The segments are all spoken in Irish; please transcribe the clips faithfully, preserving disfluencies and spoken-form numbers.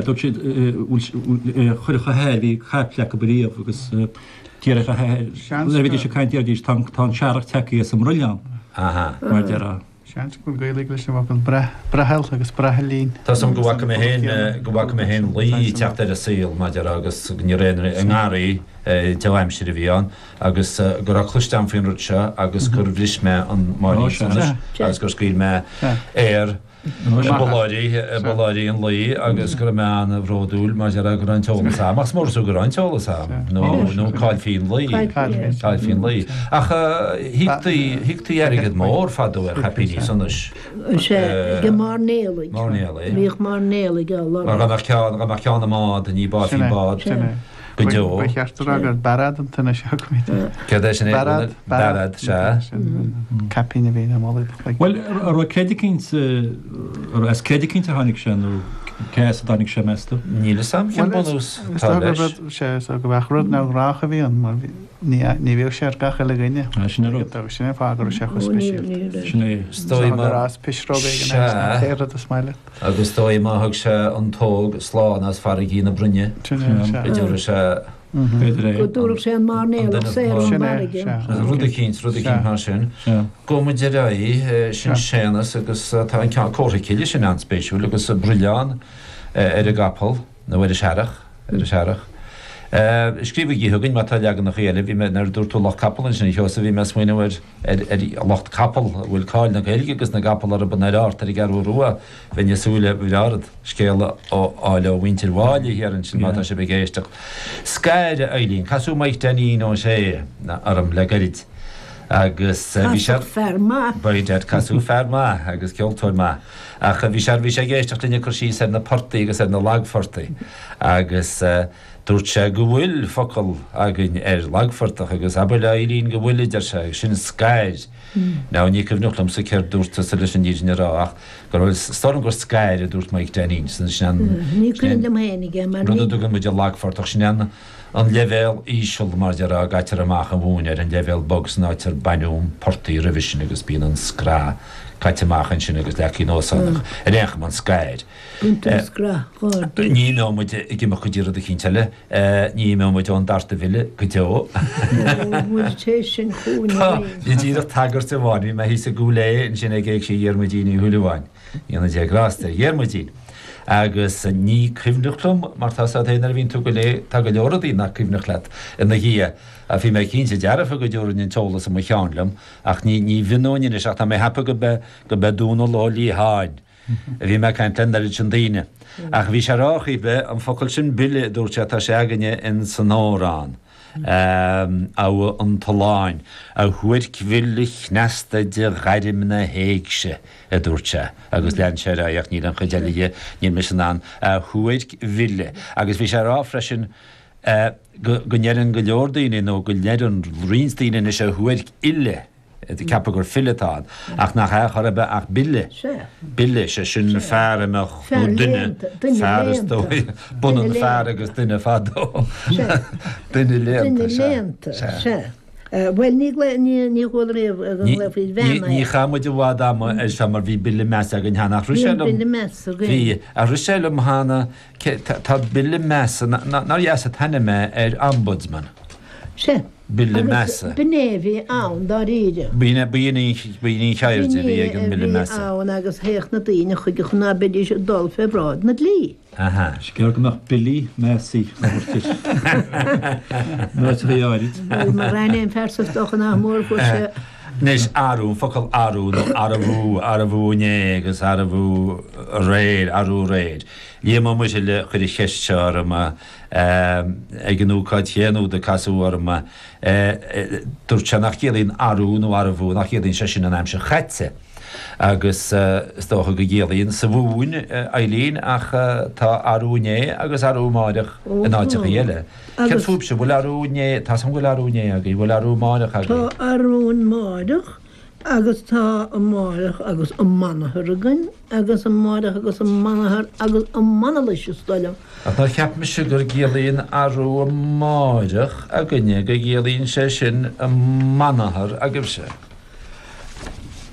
Dúirt siad chuirfeadh a hathair, bhí caiple acu riamh agus déarfadh a hathair, nuair a bhídís ag caint déarfaidís tá an searrach tagtha as an mbroilleán, mar a déarfá. Seans go bhfuil Gaeilge leis an bhfocal breathal agus braithlín. Tá 's agam go bhfaca mé féin, go bhfaca mé féin lao ag teacht ar an saol, mar a déarfá, agus ní raibh aon i ngarraí dea-aimsir a bhí ann agus go raibh cloiste agam faoin rud seo agus gur bhris mé an máirín solais agus gur scaoil mé aer i bpolláirí, i bpolláirí an lao agus go raibh mé an-bhródúil mar a déarfá go raibh an t-eolas agam, ach is mór is fiú go raibh an t-eolas agam, nó, nó caillfí an lao, caillfí an lao. Ach thíoctaí, thíoctaí airgead mór fadó ar chaipíní sonais. Sea, ag mairnéalaigh. Mairnéalaigh. Bhíodh mairnéalaigh á lorg. Mar dá mbeadh ceann, dá mbeadh ceann i mbád, ní báithfí an bád. Go deo. Ba cheart a rá gur bearad an t-ainm seo acu. Céard é sin? Bearad. Bearad, sea. Sin caipín a bhí ina mhullaigh do chloigeann. Bhuel, an raibh creid eicínt, as creid eicínt a tháinig sé nó cé as a dtáinig sé, meas tú? Níl fhios a'm cén bunús atá leis. Sea, is dócha go mbeadh rud neamhghnách a bhí ann mar ní bhíodh sé ar gach uile dhuine. Sin é rud. Sin é an fáth go raibh sé chomh speisialta. Sin é. Is dóigh gur as pisreog éigin é, an t-aon rud is maith leat. Agus is dóigh má thug sé an t-óg slán as farraigí na broinne, go dtabharfadh sé. Go dtabharfadh sé an mairnéalach saor ón bhfarraige. Rud eicínt, rud eicínt mar sin. Gabhfaidh muid ar aghaidh, sin Séanas agus tá an ceann comhartha cille sin an-spéisiúil agus broilleán ar an gcapall, nó ar an searrach, ar an searrach. Scríobhaigí chugainn má tá leaganacha eile, bhí mé, nuair a dúirt tú lucht capall ansin a Sheosaimh, bhí mé ag smaoineamh ar, ar, ar lucht capall, a bhfuil cáil na Gaeilge agus na gcapall orthu ar Art ar an gCeathrú Rua, bheinn ag súil le bhreá ort scéal a fháil ó mhuintir Mháille thiar ansin má tá sibh ag éisteacht. Scair, a Eileen, casadh Mike Dainín Ó Sé orm le gairid agus bhí sé. Casadh fear maith. By dad, casadh fear maith agus ceoltóir maith. Ach bhí sé, bhí sé ag éisteacht linn ag cur síos ar na portaí agus ar na lagphortaí agus Dúirt sé go bhfuil focal againn ar lagphortach agus abair le Eileen go bhfuil, a deir sé, agus sin scair. Now, ní cuimhneach liomsa céard dúirt tusa leis an fhírinne a rá ach go raibh, is dóigh liom gur scair a dúirt Mike Dainín. Sin an, Ní cuimhin liom féinig é mar rud a ní. dtugann muid an lagphortach, sin an, an leibhéal íseal mar a déarfá a gcaitear amach an mhóin air, an leibhéal bog san áit ar baineadh an portaigh roimhe sin agus bíonn an scraith caite amach ansin agus leagtha anuas ann ach ar aon chuma an scair. Baintear scraith ghardaí. Ní imeoidh muid ag imeacht go dtí rud eicínt eile. Ní imeoidh muid ón dtart a mhilleadh go deo. Ó, muid tar éis sin chugainn Tá, arís. ní díreach tagairt amháin. Bhí mé thíos i gCúil Aodha ansin ag Éigse Dhiarmuidín Uí Shúilleabháin. Go ndéana Dia grásta ar Dhiarmuidín. Agus ní cuimhneach liom, mar tá 's agat féin nuair a bhíonn tú go léigh, tá go leor rudaí nach cuimhneach leat ina dhiaidh. Ach bhí mé cinnte dearfa go dtabharfainn an t-eolas i mo cheann liom, ach ní, ní mhionóinn anois ach tá mé ag ceapadh go b'é, go b'é Dónal Ó Liatháin. a bhí mé ag caint le an oiread sin daoine. Ach bhí sé ag rá ar chaoi ar bith, an focal sin bile, a dúirt sé, tá sé againne in san amhrán, Abha an tSuláin, a shuairc bhile chneasta de ghairm na héigse, a dúirt sé, agus lean sé ar aghaidh ach níl an chuid eile dhe, níl mise in ann, a shuairc bhile. Agus bhí sé ag rá freisin go ndeireann go leor daoine, nó go ndeireann roinnt daoine anois a shuairc uile, ag ceapadh gur file atá ann, ach nach ea chor ar bith ach bile, bile, sé sin fear a mbeadh, nó duine, fear is dóigh, b'ionann fear agus duine fadó, duine léannta, sea, sea. Bhuel, ní ní chuala riamh go nglaofaí bean air. Ní chaith muid i bhfad ama air seo mar bhí bille measa againn cheana, ach rith sé liom, Bhí bille measa againn. Bhí, ach rith sé liom cheana, tá bille measa, nár dheas an t-ainm é ar ombudsman? Sea. Bille Agus measa. b'in é a bhí ann dáiríre. B'in é, b'in í, b'in í an cheird a bhí ag an B'in é mBille a bhí measa. ann agus théadh na daoine chuige chun ná beidís ag dul fé bhráid na dlí. Aha. Is gearr go mbeadh Billí Measaí á thabhairt air. In áiteachaí áirid. Bhuel, mar aon fear sa stoc nach mór fuair sé. Anois, arú, an focal arú nó arbhú, arbhú inné agus arbhú aréir, arú aréir. Liam Ó Muirthile a chuir an cheist seo orm. Ag an ócáid chéanna úd a casadh orm, dúirt sé nach gciallaíonn arú nó arbhú, nach gciallaíonn sé sin an aimsir chaite. Agus is dócha go gciallaíonn sa Mhumhain, Eileen, ach tá arú inné agus arú amáireach in áiteachaí eile. Céard fúibhse, bhfuil arú inné, tá 's agam go bhfuil arú inné agaibh, bhfuil arú amáireach agaibh? Tá arú amáireach Agus tá amáireach agus amanathar againn, agus amáireach agus amanathar agus amanalais, is dóigh liom. Ach nár cheap mise gur gciallaíonn arú amáireach againne, go gciallaíonn sé sin amanathar agaibhse?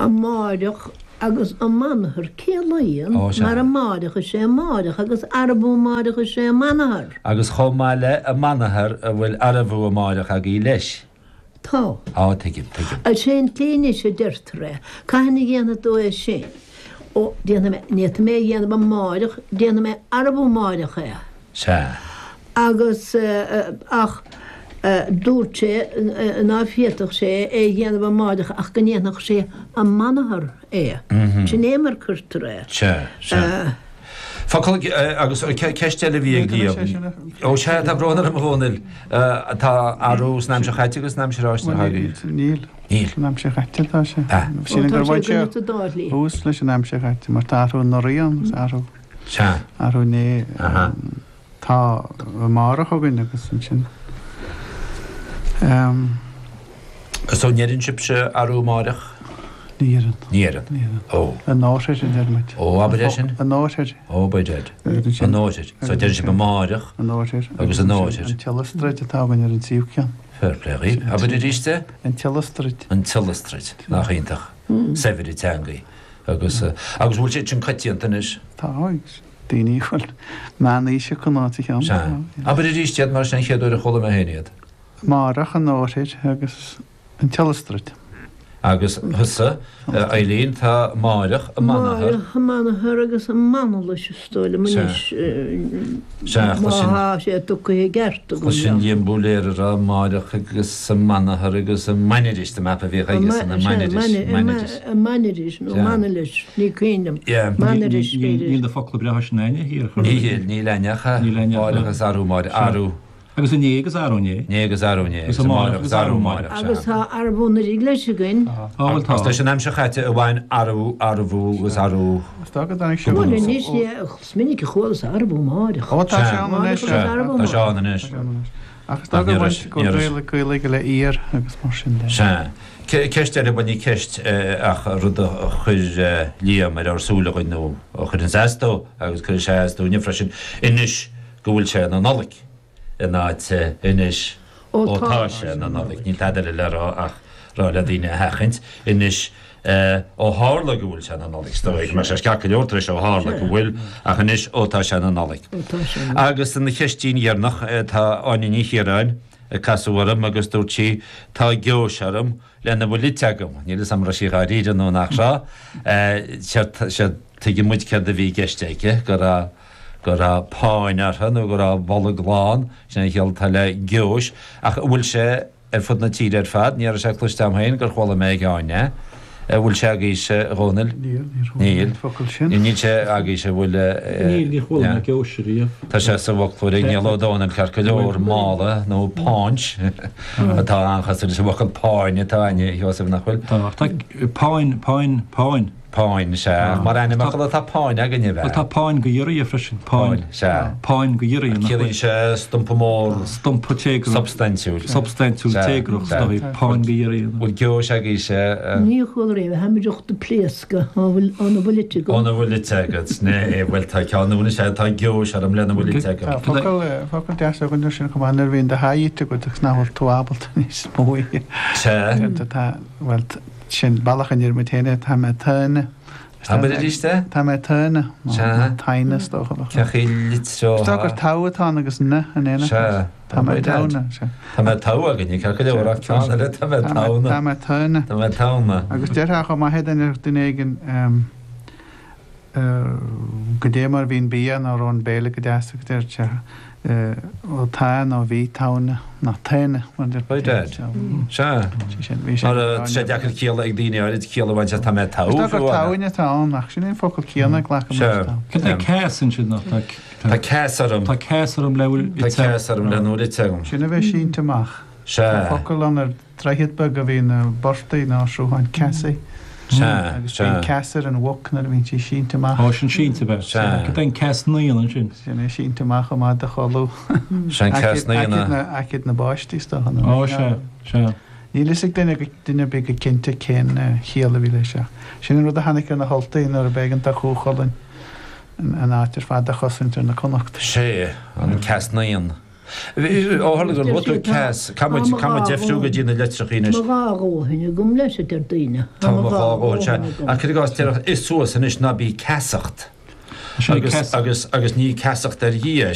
Amáireach agus amanathar ciallaíonn Ó, sea. mar amáireach is é amáireach agus arbú amáireach is é amanathar. Agus chomh maith le amanathar a bhfuil arbú amáireach agaí leis. Tá. Á tuigim, tuigim. Al sin tslí anois a deirtear é, cathain a dhéanfaidh tú é sin? Ó, déanfaidh mé, ní fhéadfaidh mé a dhéanamh amáireach, déanfaidh mé arbú amáireach é. Sea. Agus ach dúirt sé ná féadfadh sé é a dhéanamh amáireach ach go ndéanfadh sé amanathar é. Sin é mar cuirtear é. Sea, sea. Focal agus ceist eile a bhí ag Liam. Ó sea, tá brón orm a Dhónaill. Tá arú san aimsir chaite agus san aimsir fháistine agaibh. Níl. Níl. San aimsir chaite atá sé. Ah. Sílim gur bhain sé sa dá shlí. thús leis an aimsir chaite mar tá athrú anuraidh ann agus athrú Sea. athrú inné. Aha. Tá amárach againn agus ansin. Um, So ndeireann sibhse arú amáireach? ní deireann. Ní deireann. Ní deireann. Ó. An nóir a deir muid. Ó, abair é sin. An nóir. Ó, by dead. An nóir. So deireann sibh amáireach An nóir. Agus an nóir. An tiollastraid atá againn ar an tríú ceann. Fair play dhaoibh. Abair arís é? An tiollastraid. An tiollastraid. Nach iontach. Saibhir teangaí. Agus eh, agus bhfuil sé sin coitianta anois. Tá agus daoine bhfuil meánaois acu ná sa cheann. Sea. Abair arís iad mar sin chéad uair a chuala mé féin iad. Márach an nóir agus an tiollastraid. Agus thusa, eh, Eileen, tá máireach amanathar. Máireach amanathar agus amanalais is dóigh liom Sea. anois. Sea, Má sin- thá sé tugtha i gceart agam. Sin Liam Búléir a rá máireach agus amanathar agus amaniris de map a bhí agus an amaniris. Maniris. Maniris nó Sea. manilis ní cuimhin liom. Yeah. Maniris Níl b'fhéidir. na focla breátha sin aine thiar. Níl níl aneacha Níl aneacha. máireach agus arú máire arú Agus inné agus arú inné. né agus arú né Agus agus amáireach amáireach agus arú máireach. Agus tá arbú na leis againn. Á bhfuil tá. Agus leis an aimsir chaite a bhain arú arbú agus arú. Is dá go dtáinig sé Bhuel anois ní minic a chuala arbú máireach. Ó tá sé Sea. ann anois. Máireach agus arbú Tá sé máireach. ann anois. Ach is dá go Ní bhain raibh- go ní raibh- Gaeilge Gaeilge le iar agus mar sin de. Sea. Ce- Ceist eile bhain ceist eh, ach rud a chuir eh, Liam ar ár súile againn nó a chuir an seastó agus chuir sé as dúinne freisin anois go bhfuil sé na Nollaig in áit eh, anois Ó ó tá tá sé na Nollaig níl tada le rá ach rá le daoine a sheachaint anois eh, ó tharla go bhfuil sé na Nollaig stoigh mar sé ceart go leor tar éis ó tharla go bhfuil ach anois ó tá sé na Nollaig. Ó tá sé. Agus an cheistín dheireanach eh, tá Áine Ní Chiaráin ag casadh orm agus dúirt sí tá geois orm lena bhfuil ite agam. Níl a fhios agam raibh sí dháiríre nó nach raibh. Se tuigeann muid céard a bhí i gceist aici go raibh go raibh páin orthu nó go raibh bolg lán sin an chiall atá le geois ach bhfuil sé ar fud na tíre ar fad, ní raibh sé cloiste agam féin gur chuala mé ag Áine. Bhfuil sé agaibhse a Dhónaill? Níl, níor chuala Níl. mé an focal sin. Níl sé agaibhse bhfuil Níl ní chuala mé geois riamh. Tá sé sa bhfoclóir ag Niall Ó Dónaill ceart go leor mála nó páint atá an-chosúil leis an bhfocal páin atá againne Sheosamh nach bhfuil. Tá tá páin páin páin. Páin sé mar ainmfhocal atá páin againne Bhuel tá bheith. páin go iarraidh freisin páin. Páin sé. Páin go iarraidh Ciallaíonn sé stumpa mór Stumpa téagrach. substaintiúil. Substaintiúil Sea, téagrach sea. stoí páin go iarraidh. Bhfuil geois agaibhse Ní chuala riamh tháimid de pléascadh óna bhfuil ite agam. óna bhfuil ite agat né bhfuil tá ceann bhfuil sé tá geois orm lena bhfuil ite Tá agam. focal focal deas againn sin chomh maith nuair a bhíonn do sháith ite agat agus nach bhfuil tú ábalta níos mó. Se Tá bhuel sin bealach an muid féin tá mé tana. Abair arís é? Tá mé tana Sea. taine stocha. Ceachaí litro. Tá gur tá agus na an éana. Se Tá mé tana. Tá mé tá againne ceart go leor ach ceann eile tá mé Tá tana. mé tana. Tá mé tana. Agus deirtear chomh maith duine duine éigin go dé mar bhíon bia nó ón béile go deas go deir sé ó tá nó bhí tana ná taine By dad. Se Mar sé deacair ciall ag daoine áirid ciall a bhaint tá mé tá. Tá gur táine tá ann ach sin é focal céanna glacaim Sea. Cad é ceas ansin nach tá Tá ceas orm. Tá ceas orm le bhfuil Tá ceas orm lena bhfuil ite agam. Sin a bheith sínte amach. Se Focal ann ar droichead beag a bhí na bortaí ná srutháin ceasaí se agus se bíonn ceas ar an mhuc nuair a bhíonn sí sínte amach. Á sin sínte bheith. Sea. Cad é an ceas naíon ansin. Sin é sínte amach chomh maith do chodladh. Sin ceas naíona. Aicid na báistí stocha. Á se se. Níl fhios ag duine go duine big go cinnte cén chiall a bhí leis seo. Sin an rud a tháinig ar na hUltaigh nuair a b'éigean do Chú Chulainn an áit ar fad a chosaint ar na Connachta. Sé an ceas naíon. Ó tharla gur luaigh tú ceas, caithfidh muid caithfidh muid deifriú go dtí na litreacha anois. Tá mo dhá dhóthain agam leis, a deir daoine. Tá mo dhá dhóthain, sea. Ach cuir i gcás, déarfadh ith suas anois ná bí ceasacht. Sin Agus ceas. agus agus ní ceasacht ar Dhia.